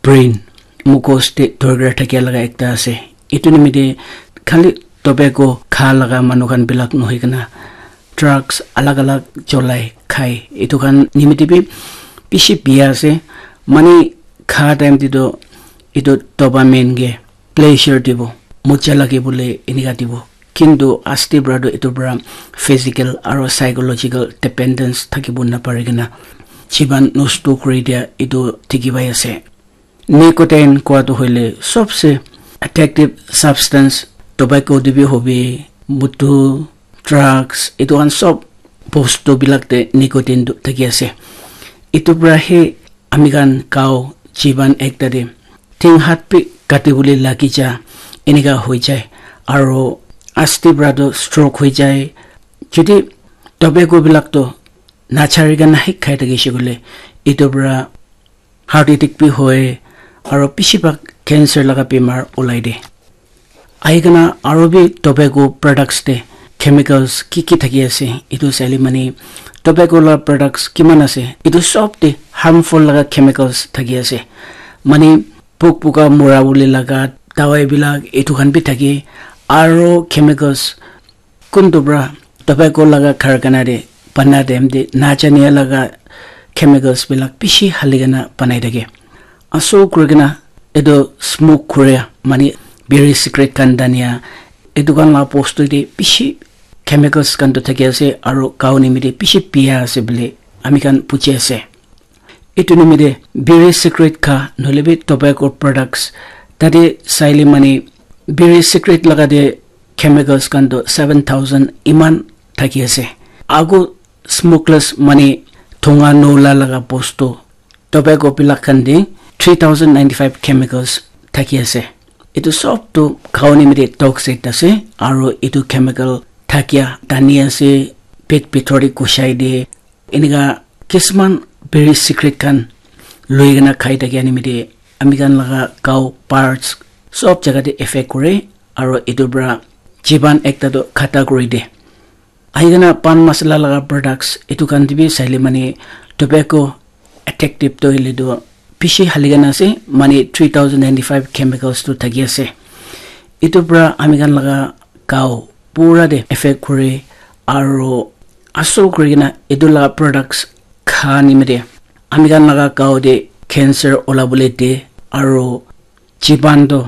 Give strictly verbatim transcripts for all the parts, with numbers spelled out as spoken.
brain, mugos te dorkar thakia laga ekta ase. Etu nimite khali tobacco kha laga manu khan bilak nohoi kena drugs alag alag cholai khai, etu khan nimite bi bishi biya ase. Mane kha time te toh etu dopamine ke pleasure dibo, moja lage bole enika dibo. Kintu asti pra toh etu pra physical aro psychological dependence thakibo napari kena jiban nosto kuri dia etu dikhi pai ase. Nicotine kua toh hoile sobse addictive substance, tobacco te bi hobi, mutu, drugs, etu khan sob bostu bilak te nicotine tu thaki ase. Etu pra he ami khan gao jiban ekta te thing hat bi kati bole lagi ja, enika hoi jai, aro asti pra tu stroke hoi jai. Jodi tobacco bilak tu nachari kena he khai thakishe koile, etu pra heart attack bi hoi, aro bishi bhag cancer laga bimar ulai de. Ahi kena aro bi tobacco products te chemicals ki ki thaki ase, etu saile mane tobacco la products kiman ase, etu sob te harmful laga chemicals thaki ase. Mane pok poka mura bole laga dawai bilak etu khan bi thake, aro chemicals kuntu pra tobacco laga karkhana te bana time te najania laga chemicals bilak bishi hali kena banai thake. Aso kuri kena etu smoke kuria mane biri cigarette khan tania etu khan la bostu te bishi chemicals khan tu thaki ase aro gao nimite bishi biya ase bole ami khan buji ase. Etu nimite biri cigarette kha nohoile bi tobacco products tate saile mane biri cigarette laga te chemicals khan tu seven thousand iman thaki ase. Ago smokeless mane thonga nola laga bostu tobacco bilak khan te three thousand ninety five chemicals thaki ase. Etu sob tu gao nimite toxic ase aro etu chemical thakia tani ase, pet bithor te gusai de. Enika kisman biri cigarette khan loi kena khai thakia nimite ami khan laga gao parts sob jaga te effect kore aro etu pra jiban ekta tu khata kuri de. Ahi kena pan masala laga products etu khan te bi saile mane tobacco addictive tu hoile tu bishi hali kena ase, mane three thousand ninety five chemicals tu thaki ase. Etu pra ami khan laga gao pura te effect kore aro asol kuri kena etu la products kha nimite ami khan laga gao te cancer ola bole de aro jiban tu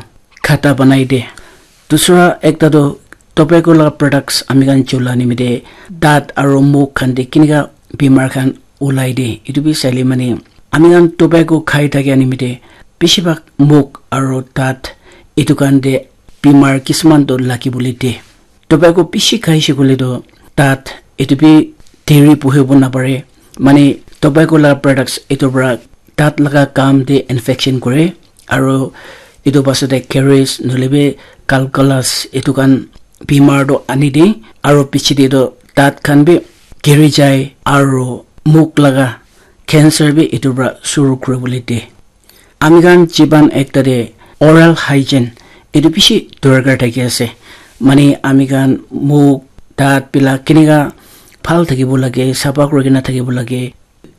khata banai de. Dusra ekta tu tobacco la products ami khan chula nimite dat aro muk khan te kinika bimar khan ulai de. Etu bi saile mane ami khan tobacco khai thakia nimite bishi bhag muk aro dat etu khan te bimar kisman tu lagi bole de. Tobacco bishi khai she koile tu dat etu bi diri puhibo napare. Mane tobacco la products etu pra dat laga kam te infection kore aro etu pasat te caries nohoile bi calculus etu khan bimar tu ani de aro piche te tu dat khan bi giri jai aro muk laga cancer bi etu pra suru kuri bole de. Ami khan jiban ekta te oral hygiene etu bishi dorkar thaki ase. Mane ami khan muk dat bilak kinika bhal thakibo lage, sapha kuri kena thakibo lage.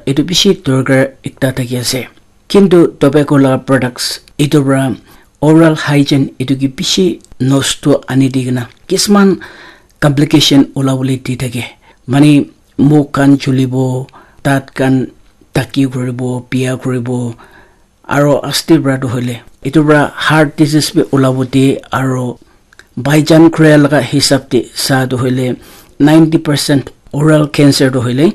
Etu bishi dorkar ekta thaki ase. Kintu tobacco la products etu pra oral hygiene etu ke bishi nosto ani di kena kisman complication ola bole di thake. Mane muk khan chulibo, dat khan taki kuribo, biya kuribo, aro asti pra tu hoile etu pra heart disease bi ola bo de aro Baijan Korea laga hisab te sa tu hoile ninety percent oral cancer tu hoile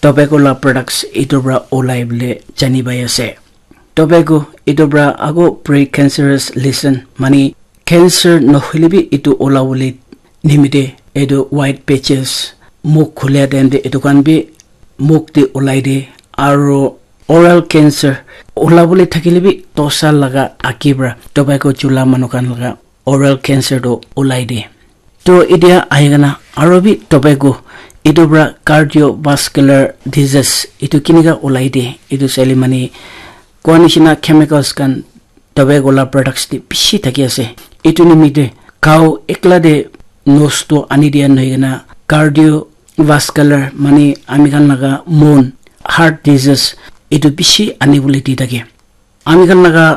tobacco la products etu pra olai bole jani pai ase. Tobacco etu pra ago precancerous lesion mane cancer nohoile bi etu ola bole nimite etu white patches muk khulia time te etu khan bi muk te olai de aro oral cancer ola bole thakile bi dosa laga agi pra tobacco chula manu khan laga oral cancer tu olai de. To etia ahi kena aro bi tobacco etu pra cardiovascular disease etu kinika olai de etu saile mane koa nishina chemicals khan tobacco la products te bishi thaki ase. Etu nimite gao ekla te nosto ani dia nohoi kena cardiovascular mane ami khan laga mon heart disease etu bishi ani bole di thake. Ami khan laga